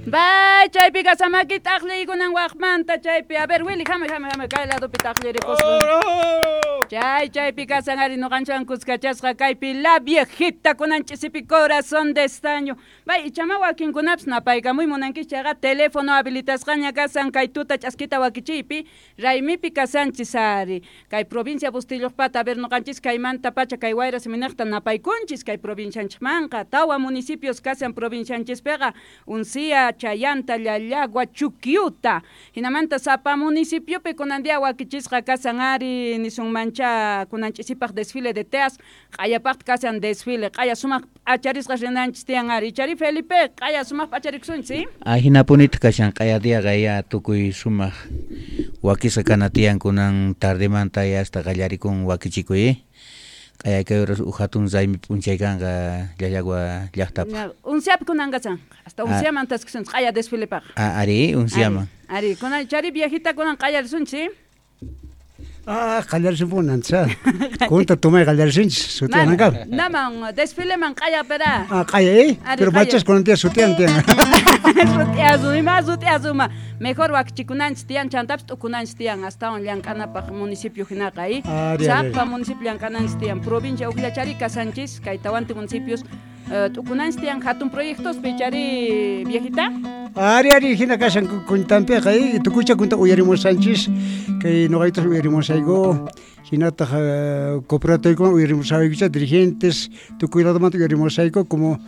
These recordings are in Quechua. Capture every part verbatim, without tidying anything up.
Bay, chaypi kasamaki taqliykunan waqmanta chaypi. A ver, Willy, hamuy, hamuy, hamuy, kay ladopi taqlirikuspa. Chay, chaypi kasan ari nuqanchwan kuskachasqa kaypi la viejita kunan ch'isipi corazón de estaño. Bay, ichama wakinkunapis napaykamuy munankichik chayqa teléfono habilitasqaña kasan kay tuta ch'askita wakichiypi raymipi kasanchis ari. Kay provincia Bustilloqpata, a ver, nuqanchis kaymanta pacha kay wayra siminaqta napaykunchis kay provincianchikmanqa. Tawa municipios kasan provincianchispiqa Uncía, Chayanta, Llallagua, Chuquiuta. Hinamanta sapa municipiopi kunan día wakichisqa kasan ari nisunmancha kunan ch'isipaq desfile de teas, q'ayapaqta kasan desfile, q'aya sumaq p'acharisqa rinanchis tiyan ari. Chari Felipe, q'aya sumaq p'acharikusunchis, ¿sí? Ahinapunitaq kashan q'aya diaqa ya tukuy sumaq wakisqa kana tiyan kunan tardemanta ya hasta qallarikun wakichikuy, eh? Q'aya kay horas uj hatun raymi p'unchay kanqa Llallagua llaqtapaq. Unciapi kunan kasan, hasta Unciaman taskusunchis q'aya desfilepaq. Ah, ari, Unciaman. Ari, kunan chari viejita kunan qallarisunchis, ¿sí? Ah, qallarisunpunan, cha. Kunta tumay qallarisunchis, sutiyananka. Naman, desfileman q'aya pera. Ah, q'aya, eh? Pero machas kunan tiyan sutiyan tiyan. Sutiyasu, ima sutiyasuma. Mejor wakichikunanchis tiyan, chantapis t'ukunanchis tiyan, astawan llank'anapaq municipio hinaqa, eh? Sapa municipio llank'ananchis tiyan. Provincia ukllachari kasanchis, kay tawanti municipios t'ukunanchis tiyan hatun proyectospi, chari viejita. Ari, ari, hina kashan kuntampiqa, eh? Tukuycha kunta uyarimusanchis, kay nuqaytas uyarimusayku, hinataq cooperativoykuna uyarimusaykucha, dirigentes, tukuy ladomanta uyarimusayku, como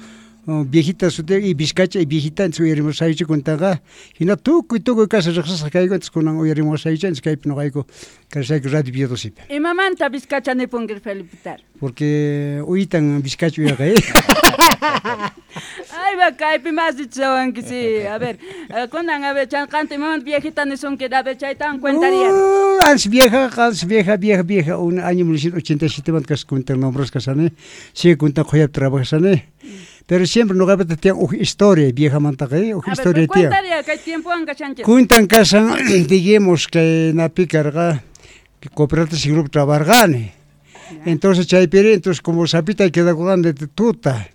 viejita sutiy y Vizcacha y viejita entonces uyarimusaychu kuntaqa, hina tukuy tukuy kasha riqsisqa kayku, entonces kunan uyarimusaychu, entonces kaypi nuqayku kasayku Radio Villodosipi. Imamanta Vizcacha nipunki Felipe? Porque uytan Vizcacha uyaqa, eh? Ay, va, kaypi mas dichawanki, sí. A ver, kunan, a ver, chanqanta imamanta viejita nisunki, a ver, chaytawan cuentaría. Uh, antes vieja, antes vieja, vieja, vieja, un año mil novecientos ochenta y siete manta kunta nombres kasani, sí kunta qhuyap trabajasani. Pero siempre no gabete tiyan uj historia vieja mantaqa, eh, uj historia tiyan. Cuentaría kay tiempowan kashanchis. Kuntan kasan, digamos que napi karqa cooperativa grupo trabargani. Entonces chaypiri, entonces como sapita quedakuqan de tuta.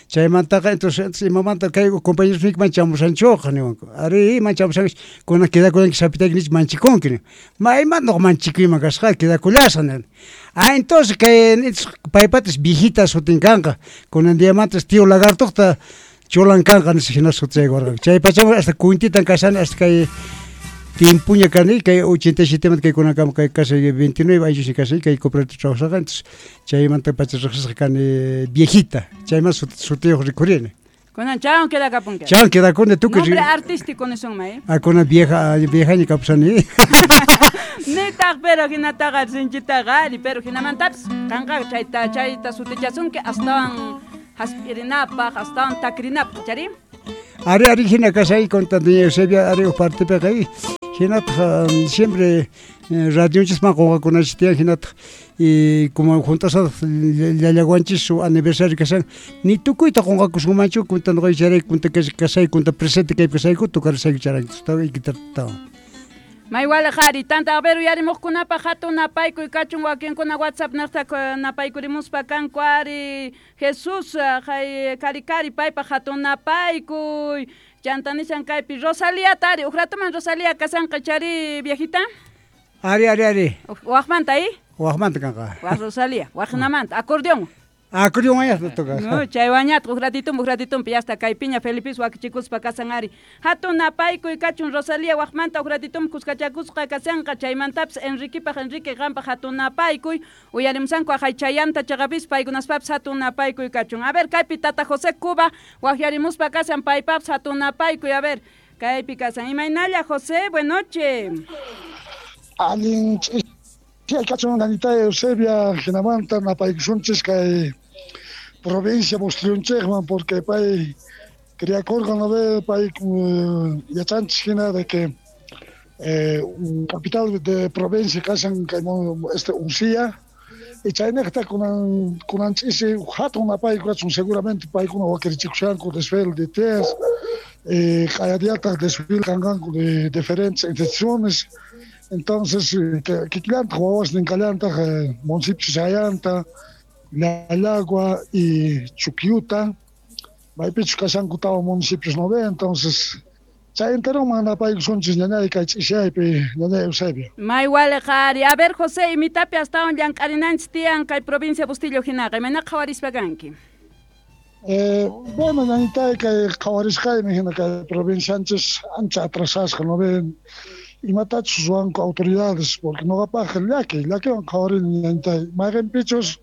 Chaymantaqa, entonces imamanta kay compañeros mik manchamusanchoqa niwanku. Ari manchamusanchis, kunan quedakuyanki sapitayki nich manchikunki nin. Ma imantaq manchikuyman kasqa quedakullasqa nin. Ah, entonces kay paypatas viejita sutin kanqa. Kunan diamantas tío lagartoqta cholan kanqa nispa hina sutiyaykurqanku. Chay pachaman hasta kuntitan kasani hasta kay tiempuña kani kay ochenta y siete manta kay kunankama kay kasay veintinueve años kasay kay cooperativa trabajasqa, entonces chaymanta pacha riqsisqa kani viejita, chayman sutiyuq rikurini. Kunan chawan quedakapunki. Chawan quedakuni tukuy. Nombre artístico nisunman, eh? Ah, kunan vieja, viejaña kapusani. Nitaq pero hinataqa sinchitaqa ari, pero hinamantapis qanqa chayta chayta sutichasunki astawan hasp'irinapaq, astawan takrinapaq, chari? Ari, ari hina kasay kunta doña Eusebia ari uj partipiqa, hinataq siempre radionchisman qunqakunachis tiyan, hinataq y como juntasataq llallawanchis su aniversario kasan, ni tukuyta qunqakusunmanchu, kunta nuqay charay, kunta kasay, kunta presente kaypi kasayku, tukarisayku charanchis, guitartawan. Maywala qhari, tanta a ver uyarimuqkunapaq hatun napaykuy kachun wakinkuna WhatsApp niqta napaykurimuspa kanku ari Jesús kay kari kari paypaq hatun napaykuy. Chanta nishan kaypi Rosalía tari, uj ratuman Rosalía kasanqa chari viejita? Ari, ari, ari. Waqmanta, eh? Waqmanta kanqa. Waq Rosalía, waqnamanta, acordeón. Acordeón wañatqa toca. No, chay wañatqa, uj ratitun, uj ratitun, hasta kaypiña Felipis wakichikuspa kasan ari. Hatun napaykuy kachun Rosalía waqmanta uj ratitun kuskachakusqa kasanqa, chaymantapis Enriquepaq, Enrique qanpaq hatun napaykuy, uyarimusanku aqhay chayanta chaqapis paykunaspapis hatun napaykuy kachun. A ver, kaypi tata José Cuba waqyarimuspa kasan paypapis hatun napaykuy, a ver, kaypi kasan. Imaynalla José, buenas noches. Allin kachun nanita Eusebia hinamanta napaykusunchis kay provincia Bustillonchikman, porque pay criakurqa no ve pay yachanchis hina de que eh, un capital de provincia kasan kay este Uncía y chaynaqta kunan kunan ch'isi hatun napayku kachun seguramente paykuna wakirichikushanku desfile de teas eh, q'ayadiataq desfile kanqanku de diferentes instituciones. Entonces, kikillantaq wawasnin kallantaq municipio Chayanta, Llallagua y Chuquiuta, maypichus kashanku tawa municipios no ve, entonces Chay enteroman napaykusunchis ñañay kay ch'isiyaypi ñañay Eusebio. May waliq ari. A ver, José, imitapi astawan llank'arinanchis tiyan kay provincia Bustillo hinaqa, imayna qhawarispa kanki? Eh, bueno, ñañitay kay qhawarisqaymi hina kay provincianchis ancha atrasasqa, no ven imatachus ruwanku autoridades, porque noqapaq llaki, llakiwan qhawarini ñañitay, mayqinpichus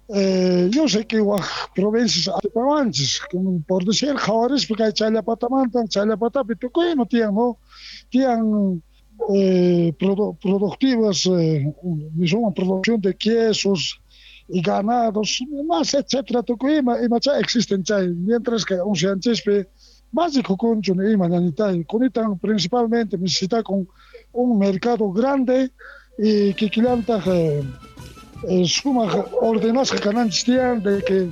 eh, yo sé que waj provincias atipawanchis, por decir qhawarispa kay Chayllapatamanta, Chayllapatapi tukuy ima tiyan, no? Tiyan eh, produ productivas, eh, misma producción de quesos y ganados, más etcétera, tukuy ima, imacha existen chay, mientras que unsianchispi más rikukunchu ni ima ñañitay, kunitan principalmente necesita con un mercado grande y kikillantaq eh, eh, sumaq ordenasqa kananchis tiyan de que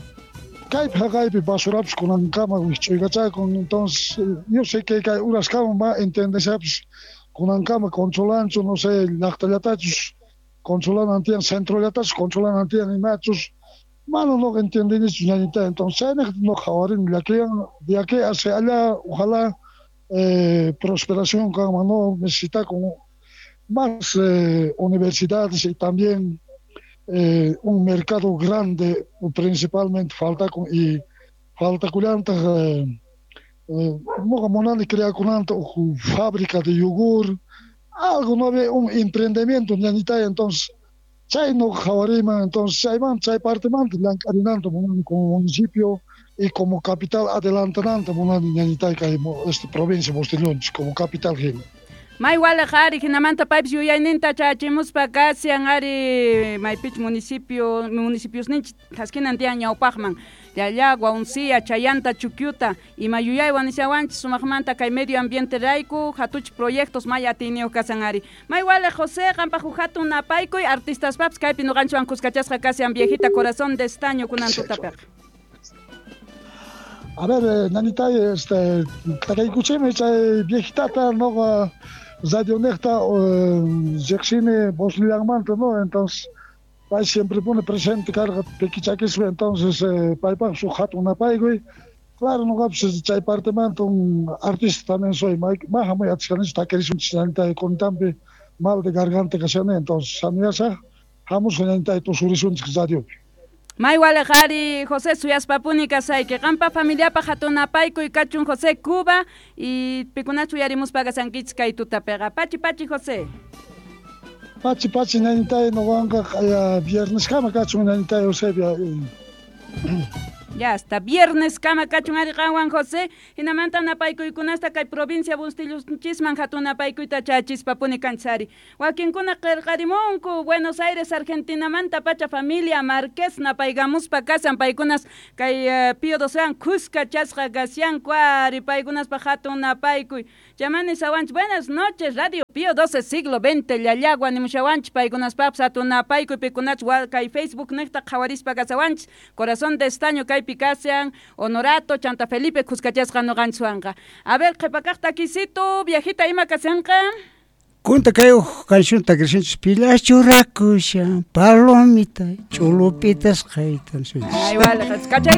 kaypi haqaypi basurapis kunankama wikch'uykachakun, entonces yo sé que kay uraskama ma entendeshapis kunankama controlanchu, no sé, llaqtallatachus controlanan tiyan, centrollatachus controlanan tiyan imachus, mano no entendinichu ñañita, entonces chayniq no qhawarini llakiwan de aquí hacia allá, ojalá eh, prosperación kanman, no necesita con más eh, universidades y también eh, un mercado grande, principalmente falta con y falta kullantaq eh, eh, noqa munani creakunanta uj fábrica de yogur, algo no había un emprendimiento ñañitay, entonces chay no qhawariman, entonces chayman chay partemanta llank'arinanta munani como municipio y como capital adelantananta munani ñañitay kay esta provincia Bustillonchis como capital hina. May waliq ari hinamanta paypis yuyayninta chachimuspa kasian ari maypich municipio municipiosninchik thaskinan tiyan ñawpaqman Llallagua, Uncía, Chayanta, Chukyuta ima yuyaywan nishawanchis sumaqmanta kay medio ambiente rayku hatuch proyectos may atiyniyuq kasan ari. May waliq José, qampaq huk hatun napaykuy artistaspapis kaypi nuqanchikwan kuskachasqa kasian viejita corazón de estaño kunan tutapiqa. A ver, eh, nanitay, este, takaykuchimi chay viejitata noqa radionejta riqsini Bosnillanmanta, no, entonces pay siempre pone presente karqa pikichakispa, entonces eh, paypaq suk hatun napaykuy. Claro, noqapis chay partemanta un artista también soy, maja muy atishkanichu takirisunchis ñañitay kunitanpi mal de garganta kashani, entonces sanuyasaq hamusqa ñañitay tusurisunchik radiopi. May waliq ari José, suyaspapuni kasayki qampa familiapaq hatun napaykuy kachun José Cuba y pikunachu uyarimuspa kasankichis kay tutapiqa. Pachi pachi José. Pachi pachi ñañitay noqanqa vierneskama kachun ñañitay Eusebia. Ya hasta viernes kama kachun ari qanwan José, hinamanta napaykuykunasta kay provincia Bustillonchisman hatun napaykuyta chachispapuni kanchis ari. Wakinkuna qillqarimunku Buenos Aires Argentinamanta pacha familia Marquez napaykamuspa kasan paykunas kay uh, Pío Docean kuskachasqa kasyanku ari paykunaspaq hatun napaykuy. Chamani sawanchis buenas noches Radio Pío doce siglo veinte Llallagua nimushawanchis paykunaspapis hatun napaykuy pikunach kay Facebook niqta qhawarispa kasawanchis corazón de estaño kay Picasian, Honorato, Chanta Felipe, kuskachasqa nuqanchikwanqa. A ver, qhipakaq takisito, viejita ima kasanqa? Kunta kay uj canción takirsinchis pilachu rakushan, palomita, ch'ulupitas qaytan. Ay, vale, kachay.